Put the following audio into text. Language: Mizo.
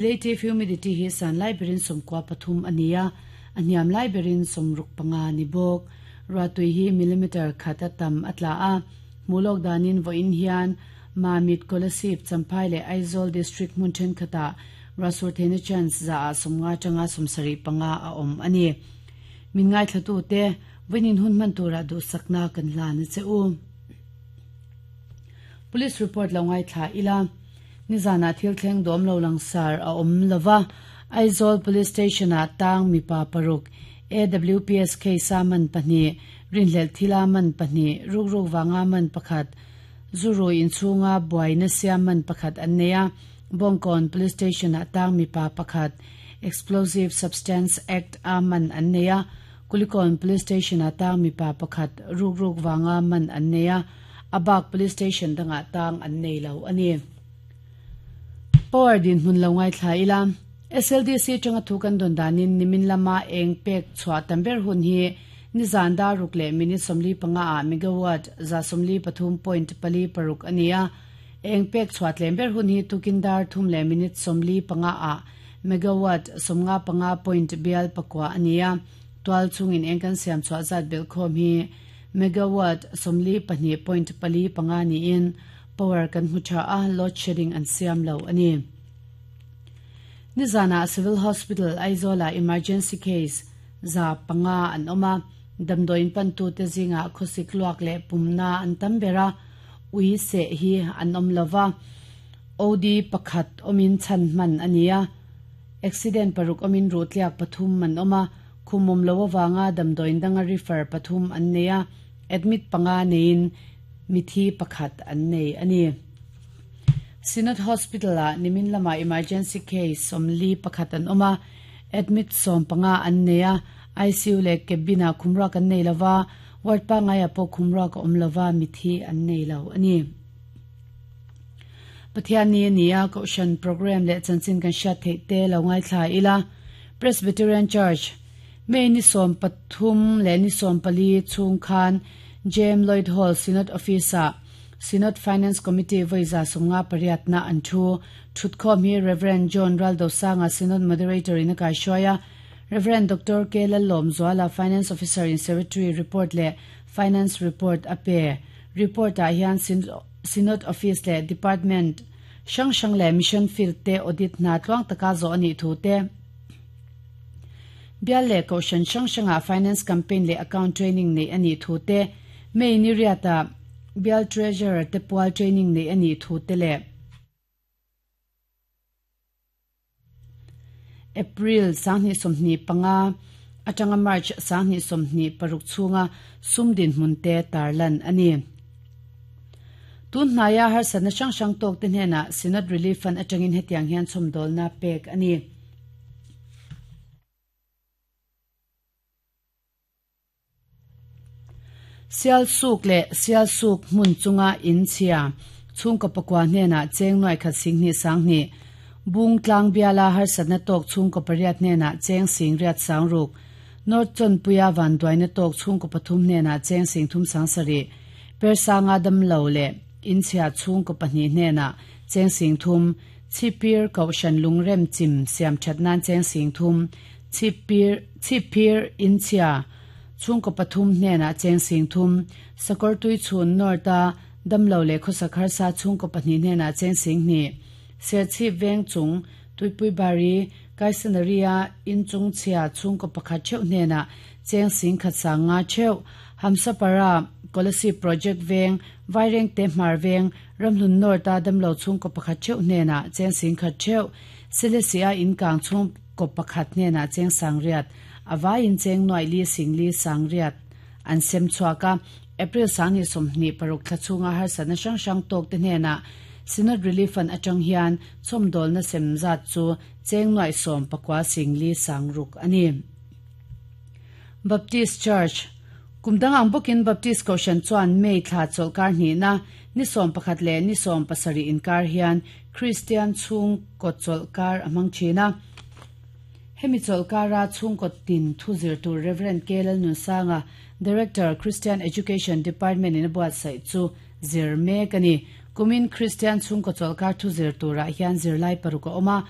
Relative humidity hi san lai berin 93 a ni a, a hniam lai berin 65 ni bawk. Ruahtui hi millimeter khat a tam a tla a, hmuh lawk danin vawiin hian Mamit, Kolasib, Champhai leh Aizawl District hmun thenkhatah ruahsur theihna chance zaah 50 atanga 75 a awm a ni. Min ngaithlatute, vawiin hun hman turah duhsakna kan hlan a che u. Police report lo ngaithla ila, nizanah thil thleng dawm lo langsar a awm lova, Aizawl Police Station-ah tang mipa paruk, AWPS case-a man pahnih, rinhlelh thila man pahnih, rukruk vanga man pakhat, zu rui inchhunga buaina siam man pakhat an nei a, Bawngkawn Police Station-ah tang mipa pakhat, Explosive Substance Act-a man an nei a, Kulikawn Police Station-ah tang mipa pakhat rukruk vanga man an nei a, a bak Police Station dangah tang an nei lo a ni. Power dinhmun lo ngaithla ila, SLDC atanga thu kan dawn danin nimin lama eng pek chhuah tam ber hun hi nizan dar ruk leh minute 45 ah megawatt 133.46 a ni a, eng pek chhuah tlem ber hun hi tukin dar thum leh minute 45 ah Megawatt 55.9 a ni a, tual chungin eng kan siam chhuah zat belhkhawm hi megawatt 42.45 niin power kan hmu tha a, load shedding an siam lo a ni. Nizanah Civil Hospital, Aizawl-ah emergency case 500 an awm a, damdawiin pantute zingah khawsik luak leh pumna an tam ber a, ui seh hi an awm lova. OD pakhat awmin chhan hman a ni a, accident paruk awmin ruhtliak pathum an awm a, khum awm lo avanga damdawiin danga refer pathum an nei a, admit panga neiin mithi pakhat an nei a ni. Synod Hospital-ah nimin lamah emergency case 41 an awm a, admit 15 an nei a, ICU leh cabin-ah khumruak an nei lova, ward pangaiah pawh khumruak a awm lova, mithi an nei lo a ni. Pathianni a ni a, Kohhran programme leh chanchin kan hriat theih te lo ngaithla ila. Presbyterian Church, May ni 13 leh ni 14 chhung khan Jem Lloyd Hall Synod Office-ah Synod Finance Committee vawi 58 na an thu. Thutkhawm hi Rev. John Raldosanga Synod Moderator in a kaihruai a, Rev. Doctor K. Lallawmzuala Finance Officer in Secretary report leh Finance report a pe. Report-ah hian Synod Office leh Department hrang hrang leh Mission Field te audit hna tluang taka zawh a nih thu te, Bial leh Kohhran hrang hrangah Finance Campaign leh Account Training neih a nih thu te, May ni riatah Bial Treasurer te pual training neih a nih thu te leh April 2025 atanga March 2026 chhunga sum dinhmun te tarlan a ni. Tun hnaia harsatna hrang hrang tawkte hnenah Synod Relief Fund atangin hetiang hian chhawmdawlna pek a ni. Sialsuk leh Sialsuk hmun chunga in chhia chhungkaw pakua hnenah cheng nuai khat sing hnih sang hnih, Bung tlang biala harsatna tawk chhungkaw pariat hnenah cheng sing riat sang ruk, North Chawnpuia vanduaina tawk chhungkaw pathum hnenah cheng sing thum sang sarih, Persanga damlo leh in chhia chhungkaw pahnih hnenah cheng sing thum, Chhipir Kohhran lungrem chim siam that nan cheng sing thum, Chhipir, Chhipphir, Inchhia, chhungkaw pathum hnenah cheng sing thum, Sakawrtui chhun North-a damlo leh khawsak harsa chhungkaw pahnih hnenah cheng sing hnih, Serchhip veng chung Tuipui Bari, Kaisanari-a inchung chhia chhungkaw pakhat theuh hnenah cheng sing khat sang nga theuh, Hamsapara, Kolasib Project veng, Vairengte Hmar veng, Ramhlun North-a damlo chhungkaw pakhat theuh hnenah cheng sing khat theuh, Selesih-a inkang chhung Kawp pakhat hnenah cheng sangriat, a vaiin cheng nuaih li sing li sangriat an sem chhuak a. April 2026 thla chhunga harsatna hrang hrang tawkte hnenah Synod Relief Fund atang hian chhawmdawlna sem zat chu cheng nuaih 19 sing li sang ruk a ni. Baptist Church, Kum dang ang bawkin Baptist Kohhran chuan May thla chawlhkar hnihna ni 11 leh ni 17 inkar hian Kristian chhungkaw chawlhkar a hmang thin a. Hemi chawlhkara chhungkaw tin thu zir tur Rev. K. Lalnunsanga, Director, Christian Education Department in a buatsaih chu zir mek a ni. Kumin Kristian chhungkaw chawlhkar thu zir turah hian zirlai paruk a awm a.